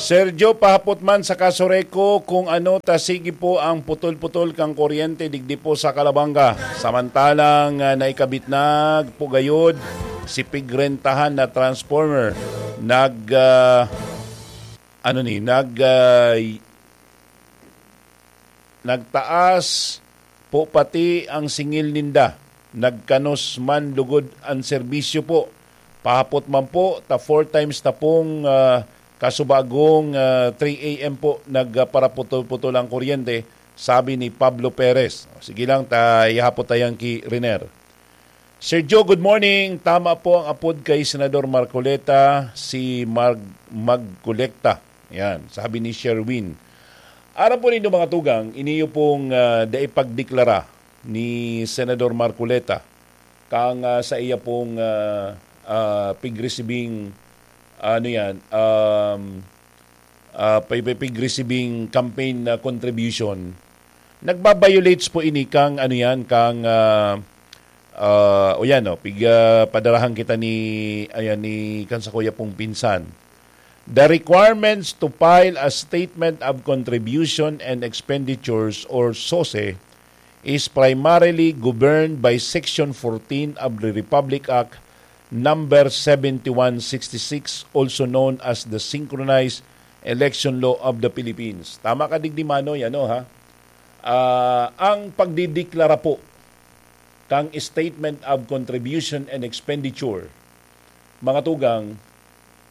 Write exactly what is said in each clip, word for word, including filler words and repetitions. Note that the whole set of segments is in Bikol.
Sergio, pahapot man sa Kasoreco kung ano ta sige po ang putol-putol kang kuryente digdi po sa Calabanga. Samantalang, ah, naikabit na po gayod si pigrentahan na transformer. Nag, ah, ano ni, nag, ah, nagtaas po pati ang singil ninda. Nagkanos man lugod ang serbisyo po. Pahapot man po, ta four times na pong, ah, kasubagong, ah, three a m po nagparaputol-putol ang kuryente, sabi ni Pablo Perez. O, sige lang, ta ihapot tayan ki Riner. Sir Joe, good morning. Tama po ang apod kay Senador Marcoleta, si Mag Magkolekta. Yan, sabi ni Sherwin. Aram po nindo, mga tugang, iniyo pong, ah, dai pagdeklara ni Senador Marcoleta kang, ah, sa iya pong, ah, ah, pigresibing, ano yan, um, ah, pay-, pay-, pigresibing campaign na contribution. Nagbabiolates po ini kang, ano yan, kang, ah, ah, o yan, no, pig, ah, padarahan kita ni, ayan, ni kan sa kuya pong pinsan. The requirements to file a statement of contribution and expenditures or SOSE is primarily governed by Section fourteen of the Republic Act number seventy-one sixty-six, also known as the Synchronized Election Law of the Philippines. Tama ka, digdi Manoy, ano ha? Ah, ang pagdideklara po kang statement of contribution and expenditure, mga tugang,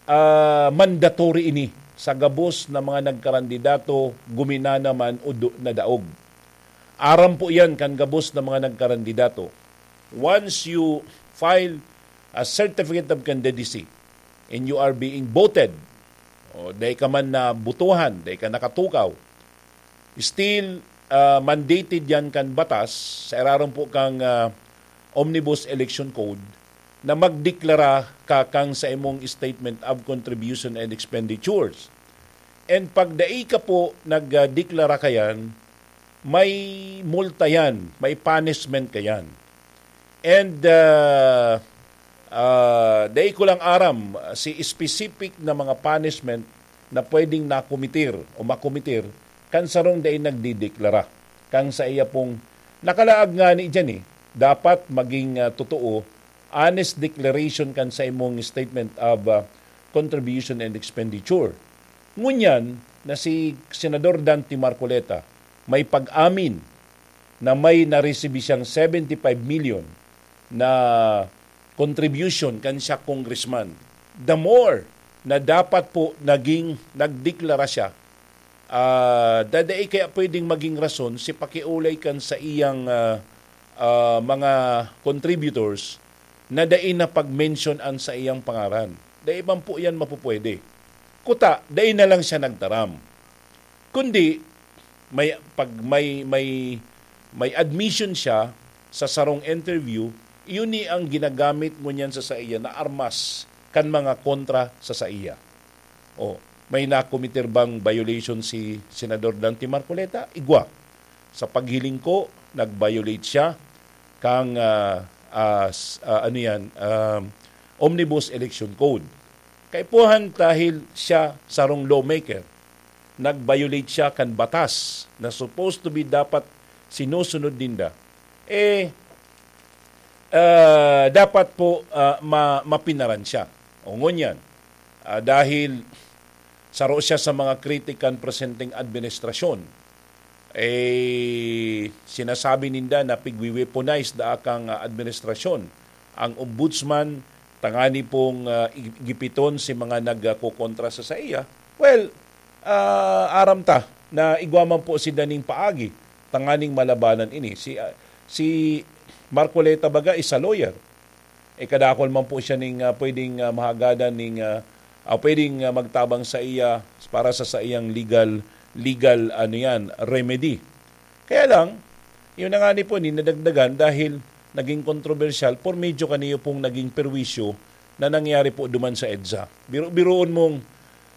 ah, mandatory ini sa gabos na mga nagkarandidato, guminana man o do-, nadaog. Aram po yan kan gabos na mga nagkarandidato. Once you file a certificate of candidacy and you are being voted, o dai ka man nabotohan, dai ka nakatukaw, still, ah, mandated yan kan batas sa irarom po kang, ah, Omnibus Election Code na magdeklara ka kang sa imong statement of contribution and expenditures. And pag dai ka po nagdeklara kayan, may multa yan, may punishment kayan. And, ah, ah, dai ko lang aram si specific na mga punishment na pwedeng nakomitir o makomitir kan sarong dai nagdideklara. Kang sa iya pong nakalaag ngani diyan eh, dapat maging, ah, totoo, honest declaration kan sa imong statement of, ah, contribution and expenditure. Ngunyan na si Senador Dante Marcoleta may pag-amin na may naresibi siyang seventy-five million na contribution kan siya congressman. The more na dapat po naging nagdeklara siya, ah, da-, dai kaya pwedeng maging rason si pakiulay kan sa iyang, ah, ah, mga contributors na dai na pag-mention an sa iyang pangaran. Dai man po yan mapupwede. Kuta, dai na lang siya nagtaram. Kundi, may, pag may, may, may admission siya sa sarong interview, iyon ni ang ginagamit ngunyan sa saiya na armas kan mga kontra sa saiya. O, may nakomitir bang violation si Senador Dante Marcoleta? Igwa. Sa paghiling ko, nag-violate siya kang, ah, ah, s-, ah, ano yan, um, Omnibus Election Code. Kaipuhan dahil siya sarong lawmaker, nag-violate siya kan batas na supposed to be dapat sinusunod ninda. Eh, ah, dapat po, ah, ma-, mapinaran siya. O ngunyan, ah, dahil saro siya sa mga kritik kan presenteng administrasyon, eh, sinasabi ninda na pigwi-weaponize daa kang, ah, administrasyon ang ombudsman tangani pong, ah, i-, gipiton si mga nagkokontra sa saiya. Well, ah, aram ta na igwa man po sinda ning paagi tanganing malabanan ini. Si, ah, si Marcoleta baga is a lawyer. Eh, kadakol man po siya ning, ah, pwedeng, ah, mahagadan ning, ah, ah, pwedeng, ah, magtabang sa iya para sa saiyang legal, legal, ano yan, remedy. Kaya lang, yun na nga ni po, ni nadagdagan dahil naging kontrobersyal por medyo kaniyo pong naging perwisyo na nangyari po duman sa EDSA. Biro-biroon mong,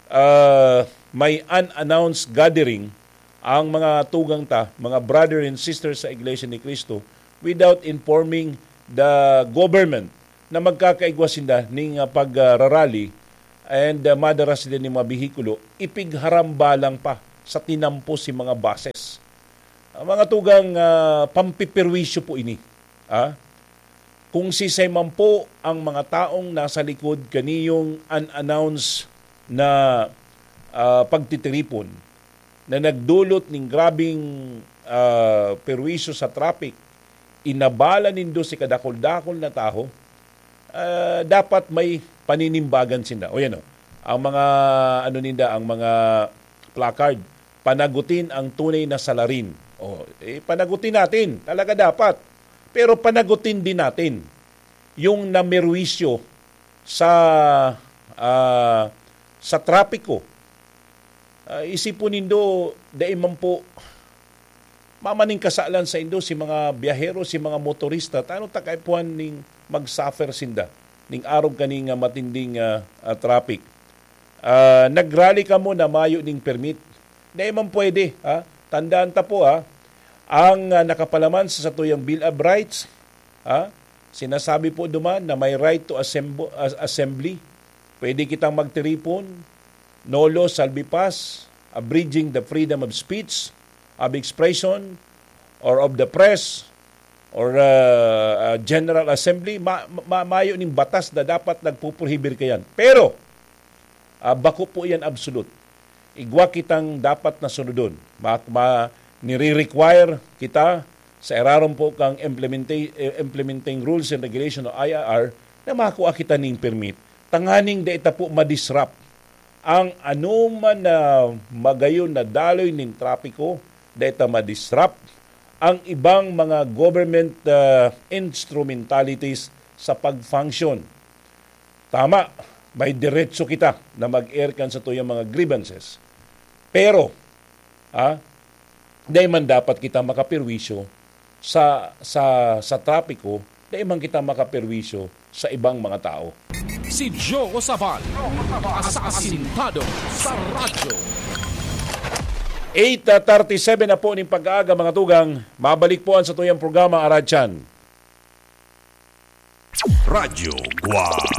ah, may unannounced gathering ang mga tugang ta, mga brother and sisters sa Iglesia ni Cristo, without informing the government na magkakaigwa sinda ning, ah, pag, ah, rarally and, ah, madara sila nin mga behikulo, ipigharamba lang pa sa tinampo si mga buses. Ang mga tugang, ah, pampiperwisyo po ini. Ah? Kung sisay man po ang mga taong nasa likod kaniyong unannounced na, ah, pagtitiripon na nagdulot ning grabing, ah, perwisyo sa traffic, inabala nindo si kadakul-dakul na tawo, ah, dapat may paninimbagan sinda. O yan o, ang mga, ano ninda, ang mga placard, "Panagutin ang tunay na salarin." O, eh, panagutin natin. Talaga dapat. Pero panagutin din natin yung namerwisyo sa, ah, sa trapiko. Ah, isipon nindo, dai man po mamaning kasalan saindo si mga biyahero, si mga motorista, ta ano ta kaipuhan ning mag-suffer sinda ning arog kaning, ah, matinding, ah, ah, traffic. Ah, nag-rally kamo na mayo ning permit. Dai man pwede, ha? Tandaan ta po, ha? Ang, ah, nakapalaman sa satuyang Bill of Rights, ha? Sinasabi po duman na may right to assemb-, as-, assembly. Pwede kitang magtiripon, no law shall be passed abridging the freedom of speech, of expression, or of the press, or, ah, ah, General Assembly. Ma-, ma-, mayo ning batas na dapat nagpuprohibir kayan. Pero, ah, bako po yan absolute. Igwa kitang dapat na sunodon. Ma-, ma-, nire-require kita sa irarom po kang implementa-, eh, implementing rules and regulation o I R R na makua kita ning permit. Tanganing dai ta po ma-disrupt ang anoman na magayon na daloy nin trapiko, dai ta ma-disrupt ang ibang mga government, ah, instrumentalities sa pag-function. Tama, may diretso kita na mag-air kan satuyang mga grievances. Pero, ah, dai man dapat kita makaperwisyo sa, sa, sa trapiko, dai man kita makaperwisyo sa ibang mga tao. Si Joe Sabal, asasintado sa radyo. Eight thirty-seven na po ning pag-aaga, mga tugang. Mabalik po ang satuyang programa, Aradyan. Radyo Guwang.